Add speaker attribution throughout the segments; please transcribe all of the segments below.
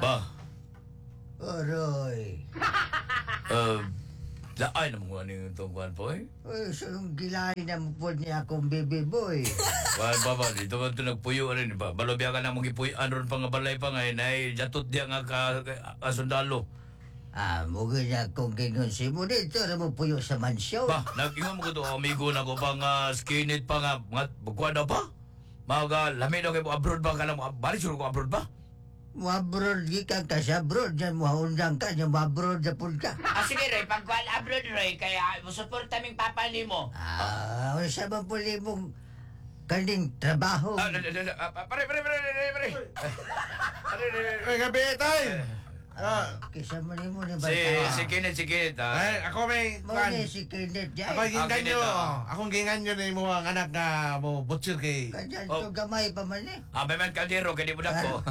Speaker 1: Ba,
Speaker 2: Oroy.
Speaker 1: Laay na mga ning itong kuan po eh.
Speaker 2: Uy, sunong gilay na mo po niya akong baby boy.
Speaker 1: Kuan pa ba, dito ba ito nagpuyo rin ba? Balobya ka na mong gipuy-an ron pa nga balay pa ngayon ay jatot diya nga ka sundalo.
Speaker 2: Ah, mugin na akong gingon si mo dito na mo puyo sa mansyon.
Speaker 1: Ba, nag-ingon mo ko to, amigo na ko pa nga skinit pa nga, nga kuan na pa? Mga lami daw kayo abroad ba ka lang, balik siguro ko abroad ba?
Speaker 2: Mo abroad gikan ka sa abroad, yan mo haundang ka, yan mo abroad na pud ka.
Speaker 3: Ah, sige, Roy. Pag kuwan abroad, Roy, kaya musuporta ming papa ni mo.
Speaker 2: Ah, unsa man po mong kaning trabaho.
Speaker 1: Ah, pare, pare, pare, pare, pare. Pare, pare, pare.
Speaker 4: Ay, gabi, tay! Ah,
Speaker 2: Kisa mo nimo ni
Speaker 1: Si,
Speaker 2: bata.
Speaker 1: si Kenneth, si Kenneth, ah.
Speaker 4: ay, ako may...
Speaker 2: Mo ni si Kenneth
Speaker 4: Ako
Speaker 2: jay.
Speaker 1: Ah,
Speaker 4: ginganyo.
Speaker 1: Kenneth, ah.
Speaker 4: Akong ginganyo na imo ang anak nga mo butcher kay...
Speaker 2: Kanyan
Speaker 1: Oh.
Speaker 2: to gamay pa man eh.
Speaker 1: Ah, may man kaldero, kaya di mo dako.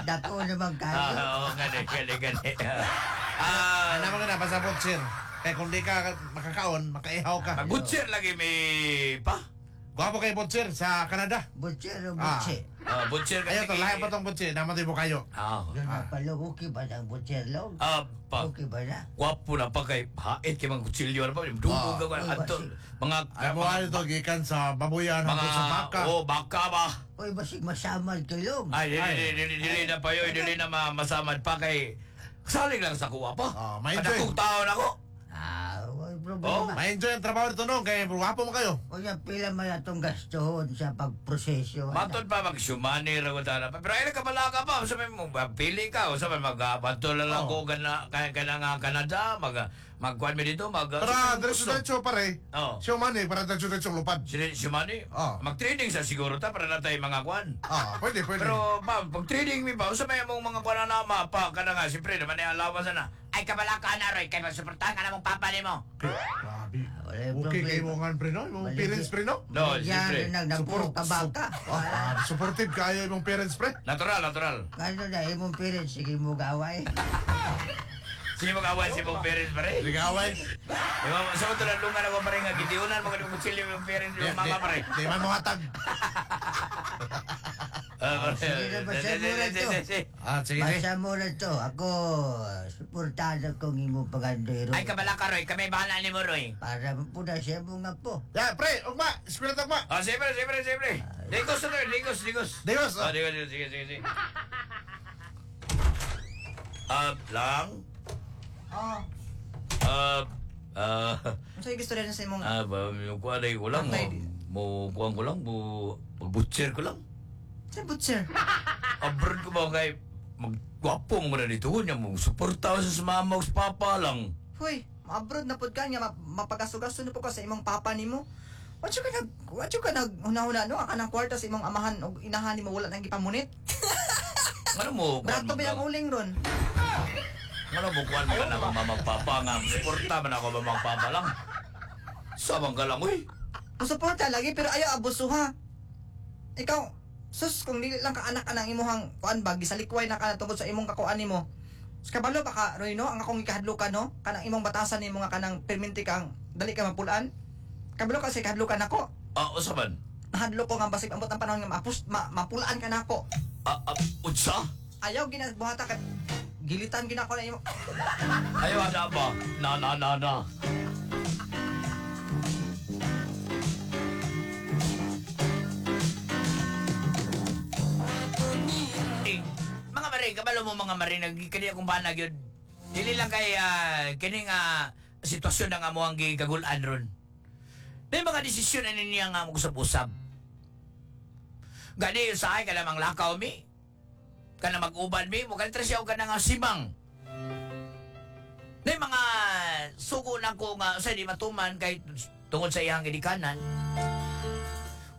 Speaker 2: Dako naman kayo.
Speaker 1: Ah, oo, gani, gani, gani. Ah,
Speaker 4: Ano man na basta butcher. Kay kung di ka makakaon, makaihaw ka.
Speaker 1: Mag-butcher lagi may pa.
Speaker 4: Gwapo kay butcher sa Canada.
Speaker 2: Butcher o butcher.
Speaker 1: Ah, butcher kasi.
Speaker 4: Ayaw to, lahi pa tong butcher. Namatay mo kayo.
Speaker 1: Ah,
Speaker 2: Yun na pala, okay ba ng butcher long?
Speaker 1: ah, pa.
Speaker 2: Okay ba na?
Speaker 1: Gwapo na pa kay hait kay mga kutsilyo na pa. Dugog ka
Speaker 2: Ah.
Speaker 1: ato. Mga
Speaker 4: Ay mo ano to, gikan sa babuyan,
Speaker 1: mga
Speaker 4: hangtod sa baka.
Speaker 1: Oh, baka ba?
Speaker 2: Uy, basig masamal kay long.
Speaker 1: Ay, dili dili dili dili na pa yoy, dili na masamad pa kay saling lang sa kuwa pa.
Speaker 4: Ah, ma-enjoy.
Speaker 1: Kadakong taon ako.
Speaker 2: Ah, wala problema.
Speaker 4: Ma-enjoy ang trabaho dito no, kay gwapo mo kayo.
Speaker 2: Unya, pila man atong gastuhon sa pagproseso.
Speaker 1: Matod pa magsumani ra ko tana. Pero ay kabala ka pa, sa may mo pili ka, sa may mag na lang ko
Speaker 4: Oh.
Speaker 1: kana kana nga Canada, mag magkuan mi dito, mag
Speaker 4: Para diretso-diretso pare.
Speaker 1: Oo.
Speaker 4: Siya man eh, para diretso-diretso lupad.
Speaker 1: Si Shumani,
Speaker 4: Oh.
Speaker 1: mag-training sa siguro ta para na tayo mga kuan.
Speaker 4: Ah, pwede, pwede.
Speaker 1: Pero pa, pag training mi pa, usa may among mga kuan na ma pa kana nga siyempre naman ay allowance na.
Speaker 3: Ay, kabala ka na, Roy. Kaya magsuportahan ka na mong papa ni mo.
Speaker 4: Grabe.
Speaker 2: Wala
Speaker 4: Okay
Speaker 2: problema.
Speaker 4: kay mo nga pre no, imong
Speaker 2: Maligid.
Speaker 4: parents pre no.
Speaker 1: No,
Speaker 2: Yan,
Speaker 1: siyempre.
Speaker 2: nang nagpuro ka baka.
Speaker 4: Ah, supportive kayo imong parents pre.
Speaker 1: Natural, natural.
Speaker 2: Ano na, imong parents, sige mo gaway.
Speaker 1: Sige mag-away si mong parents pare.
Speaker 4: Sige away.
Speaker 1: Di ba, sa mga tulalungan ako pare nga gitiunan mo kanimo kutsilyo yung parents yung mama pare.
Speaker 4: Di man mo hatag.
Speaker 1: Ah, pare.
Speaker 2: Sige na, basta mo na to.
Speaker 4: Ah, sige. sige.
Speaker 2: Basta mo na to. Ako, suportado kong imong pagandero.
Speaker 3: Ay, kabala ka, Roy. Kami bahala ni mo, Roy.
Speaker 2: Para mapuna siya mo nga po.
Speaker 4: Ya, pre, ugma, eskwela ta ugma.
Speaker 1: Ah, siyempre, siyempre, siyempre. Digos na to, digos, digos.
Speaker 4: Digos,
Speaker 1: Ah, digos, digos, sige, sige, sige. Ah, lang.
Speaker 5: Oh,
Speaker 1: Ah, ah,
Speaker 5: unsa yung gusto rin sa imong
Speaker 1: ah, ba, yung kuha na ko lang, mo, mo, kuha ko lang, mo, mag-butcher ko lang.
Speaker 5: Sa butcher?
Speaker 1: Abroad ko ba kay, magwapo mo na dito, niya mo, suporta ko sa mama o sa papa lang.
Speaker 5: Hoy, ma-abroad na pud ka nga mapagaso-gaso na po ka sa imong papa nimo. Wa ka nag hunahuna no ang kanang kwarta sa imong amahan og inahan nimo wala nang gipamunit.
Speaker 1: Ano mo, kuha
Speaker 5: Brato
Speaker 1: mo,
Speaker 5: ba ang uling ron?
Speaker 1: ano mo, kuha mo ka na mama, papa nga, suporta man ako mama, papa lang. Sabang ka lang, uy.
Speaker 5: Musuporta lagi pero ayaw abuso ha. Ikaw, sus kung dili lang ka anak anang imuhang kuan ba gisalikway na ka na tungod sa imong kakuan nimo. Sus, kabalo ba ka Roy no ang akong gikahadlukan no kanang imong batasan nimo nga kanang perminti kang dali ka mapulaan. Kabalo ka sa kahadlukan nako.
Speaker 1: Ah, usaban.
Speaker 5: Nahadlok ko nga basig ambot ang panahon nga mapulaan ka nako.
Speaker 1: Ah, ah, unsa?
Speaker 5: Ayaw ginabuhata ka gilitan ginako na imo.
Speaker 1: Ayaw, ada ba? Na, na, na, na.
Speaker 3: Eh, mga mare, kabalo mo mga mare, nagkani akong banag yun. Dili lang kay kining sitwasyon nga mo ang gikagulan ron. May mga desisyon na niya nga mag-usab-usab. Gani sa ay ka lamang lakaw mi. Kana mag-uban mi, mo kantra siya og kanang simang. May mga sugo na ko nga sa di matuman kay tungod sa iyang gidikanan.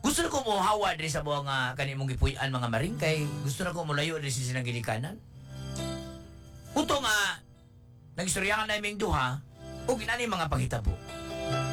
Speaker 3: Gusto na ko mohawa diri sa buong kanimong gipuy-an mga maringkay. Gusto na ko molayo diri sa silang gidikanan. Uto nga nagistoryahan na iming duha ug inani mga panghitabo.